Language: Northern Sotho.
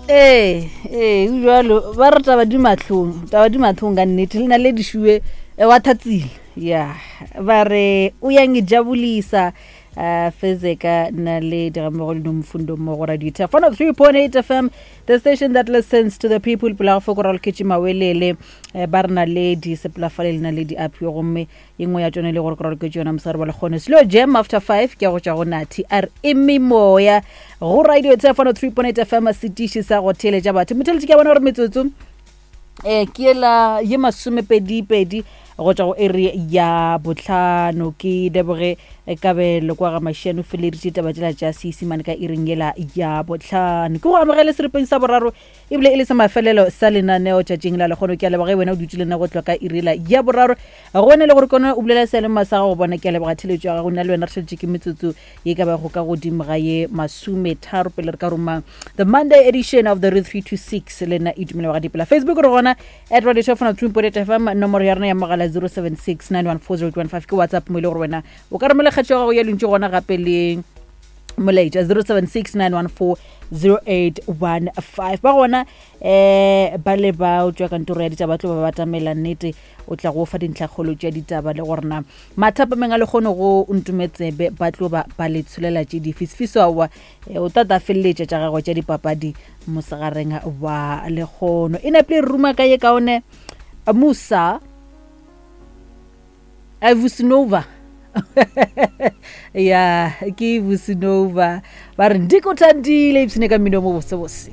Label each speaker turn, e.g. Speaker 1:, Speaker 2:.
Speaker 1: Ee, ee, go bjalo. Ba re taba di mahlong, taba di mahlong ka nnete. Le na le dišuwe eh, wa thatsile. Ya, ba re o ya ngijabulisa uh, Fezeka na le digammogo le Nomfundo mo go Radio Tef 103.8 FM, the station that listens to the people. Pela go fokora loketše mawelele eh, ba re na le di sepelafale le na le di apio gomme ye nngwe ya tšone e le gore ke raloke yona mosegare wa lekgono slow jam after 5 ke ya go tšwa go nathi a re eme moya go radio tse 103.8 fm setiši sa go theeletša batho motheletši ke a bona gore metsotso um ke ela ye masomepedipedi go tšwa go eri ya botlhano ke leboge eh, kabelo kwa ga mašiano feleditše taba tšela tša seesimane ka iring yela ya botlhano ke go amogele seripeng sa boraro ebile e le sa mafelelo sa lenaneo tšatšing la lekgono. Ke a leboga ge wena o dutše le nna go tloga ka iri la ya boraro go wena e le gore kone o bulela seyalemoya sa gago bona. Ke a leboga theletšo ya gago. Nna le wena re šaletše ke metsotso ye ka bago ka godimo ga ye masometharo pele re ka roma the Monday edition of the Re 326 le nna Itumelo wa ga Dipela. Facebook re gona at radio show fona 2.8 FM, nomoro ya rena ya mogala 076 914 ke WhatsApp mo e le gore wena o ka romela kgetšo ya gago ya lentšu gona gape le molaetša 0769140815 ba gona um ba le ba o tšwa kantoro ya ditaba tlo ba batamela nnete o tla go fa dintlhakgolo tša ditaba le gorena mathapameng a lekgono go ntumetsebe ba tlo ba ba le tsholela tše dife sefiso aowa eh, o tata feleletša tša gagwe tša dipapadi mosegareng wa lekgono e napile re ruma ka ye kaone musa Vusinova ya ke Vusinova ba re ndiko thandile ipsene ka mmino mo bosebose.